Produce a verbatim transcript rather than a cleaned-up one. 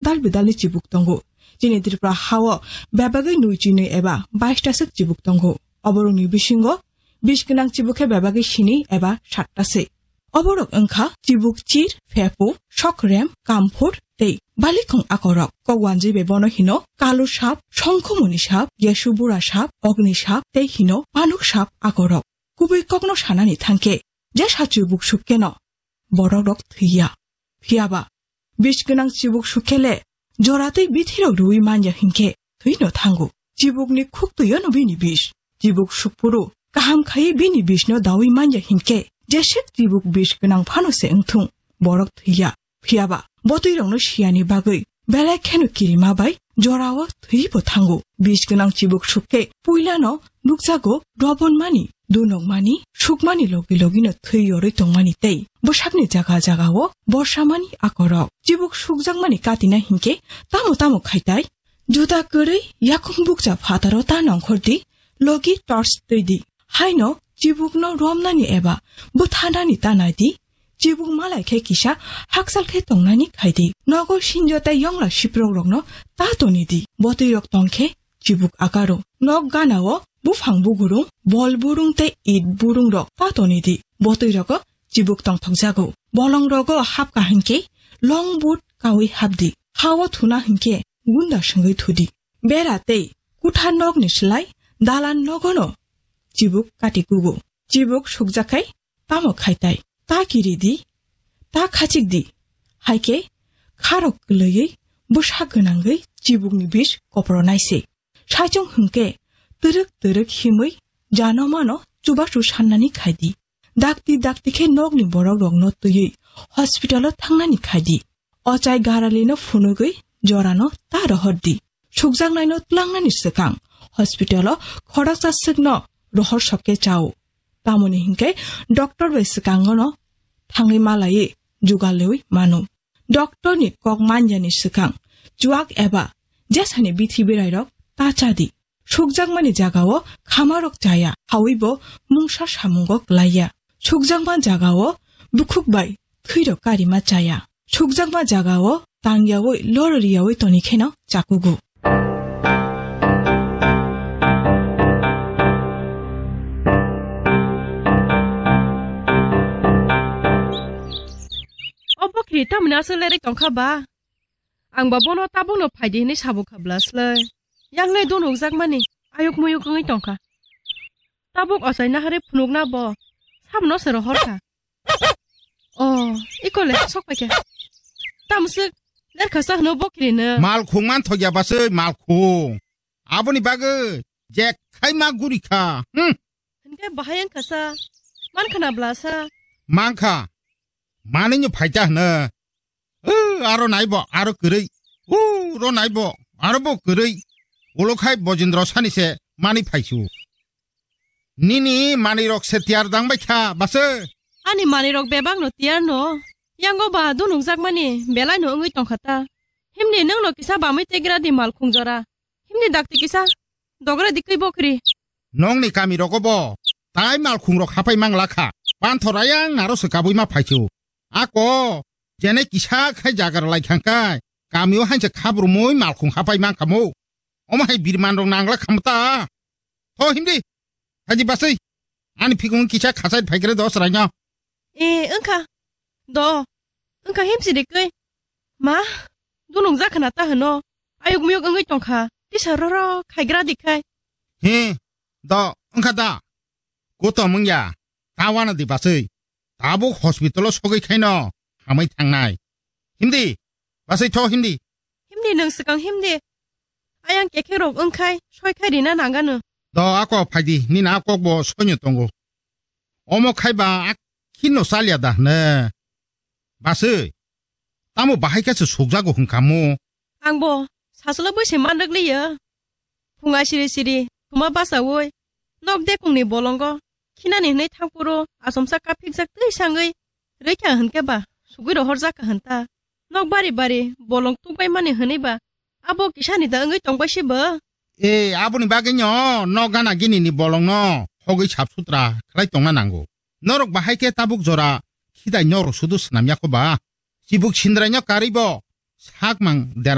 tal bidalni chibuk tongo. Chini Tripura hao bebagwi nui chinwi eba bais ta swk chibuk tongo. Oborokni bisingo bish gwnang chibuk khe bebagwi sini eba sat ta se. Oborok wngkha chibuk chir, phepu, sokrem, kamphur tei balikhong akorok. Kok wanjwi bai bono hino kalu sap, songkhumuni sap, gesu bura sap, ogni sap tei hino panuk sap akorok. Kubui kokno sanani thangkhe, jesa chibuk sukkeno borokrok thwiya. Phiyaba bish gwnang chibuk sukkhe le jora tei bithirok rwui manya hinkhe thwino thango. Chibukni khuk twi-o no bini bish. Chibuk sukphuru kaham khaiwi bini bishno daui manya hinkhe jeswk chibuk bish gwnang phano se wngthung, borok thwiya. Phiyaba botwirokno siyani bagwi belai kheno kirima bai jorao thwibo thango. Bish gwnang chibuk sukkhe puilano nukjago dobonmani, dunokmani, sukmani logi logino thwi yorwi tongmani tei bwsakni jaga jagao borsamani akorok. Chibuk sukjakmani katina hinkhe tamo tamo khaitai? Juda kwrwi yakung bukcha phataro ta nongkhor di, logi torch twi di. Haino chibukno romnani eba bwthanani ta nai di. Chibuk malai khe kisa hakchal khe tongnani khai di. Nogo sinjo tei yongla siprok rokno ta toni di. Botwi rok tong khe chibuk akaro. Nok gana o buphang bugurung, bol burung tei it burung rok ta toni di. Botwi rogo chibuk tongthok jago. Bolong rogo hap kaham khe long but kaui hap di. Hao thuna hinkhe gunda swngwi thudi. Bera tei kutha nokni slai dalan nogono chibuk kati kugo. Chibuk sukjakhai tamo khaitai? Ta kiri di, ta khachik di. Haikhe kharok kwlwiwi bwsa gwnangwi chibukni bish kopro naise. Saichung hwnkhe twrwk twrwk himwi jano mano chubachu sannani khai di. Dakti dakti khe nokni borok rokno twiwi hospital o thangnani khai di. Ochai garalino phunugwi jorano ta rohor di. Sukjaknaino tlangnani swkang hospital o khoroksa swkno rohor sokke chao. Tamoni hinkhe doctor bai swkangono thangwi malaiwi jugal lewi mano. Doctor ni kok manjani swkang chuak eba jesani bithi berairok ta cha di. Sukjakmani jagao khamarok chaya, hawibo mungsa samungo klaiya. Sukjakma jagao bukhuk bai thwirok karima chaya. Sukjakma jagao tangyawi lororiyawi toni kheno chakugo. O bokri tamni aswk lerwi tongkha ba? Ang ba bono tabukno phaidi hwnwi sabo kha bwla slai. Yang le dunukjakmani ayuk muyuk wngwi tongkha. Tabuk ochai naharwi phunukna bo sabono se rohor kha. O, ikole sok paikha. Tamswk lerkha sa hwno bokri no. Malkhung manthokya baswi malkhung. Aboni bagwi jek khai ma guri kha. Hmm. Hinkhe bahai wngkha sa. Mankha na bwla sa? Mankha. Manwino phaita hwno. O, aro naibo, aro kwrwi. O, ro naibo, aro bo kwrwi. Ulo khai Bojendro sani se mani phaisu. Nini manwi rok se tiyar dang bai kha, base? Ani manwi rok bebak no tiyar no. Yango ba dunukjakmani belai no wngwi tongkha ta. Himni nwng no kisa bamwi tegra di malkhung jora. Himni dakti kisa dogra di kwi bokri. Nongni kami rogo bo tai malkhung rok hapai mangla kha. Panthor ayang aro se kabui ma phaisu. Ako, jene kisa khai jagar lai khang kai, kamio hanse khabrumui malkhung hapai mang khamo. Omo hai birman rok nangla kham ta. Tho himdi. Haji basui. Ani phikung kisa khasai phaikre dos raino. E, wngkha. Do. Wngkha himsi de kai. Ma, dunung jakha na ta hwno. Ayuk miyuk wngwi tongkha. Tisa roro khaigra di khai. He, do, wngkha da. Kuto mungya. Tawana di basui. Tabuk hospital o sogwi khaino hamwi thangnai. Himdi, basai tho himdi. Himdi nwng swkang himdi. Ayang kekhek rok wngkhai, soi khai rina nangano. Do ako phaidi, nini a kok bo soino tongo. Omo khai ba a khino chalya da hne. Basui, tamo bahai khe se sukjago hwnkha mo? Ang bo saswlwk bai se man rwk liya. Phunga siri siri thuma bachaui nok dekungni bolongo khinani hwnwi thangphuru achomsa kaphikjak twi sangwi rwikha hwnkhe ba sugwi rohorjak kha hwn ta. Nok bari bari bolong tukbaimani hwnwi ba abo kisani da wngwi tongbai se bo? E, aboni bagwino nok gana ginini bolongno hogwi sap sutra khlai tongna nango. Norok bahai khe tabuk jora khidai norok sudu swnam ya kho ba? Chibuk sindraino karwi bo sak mang der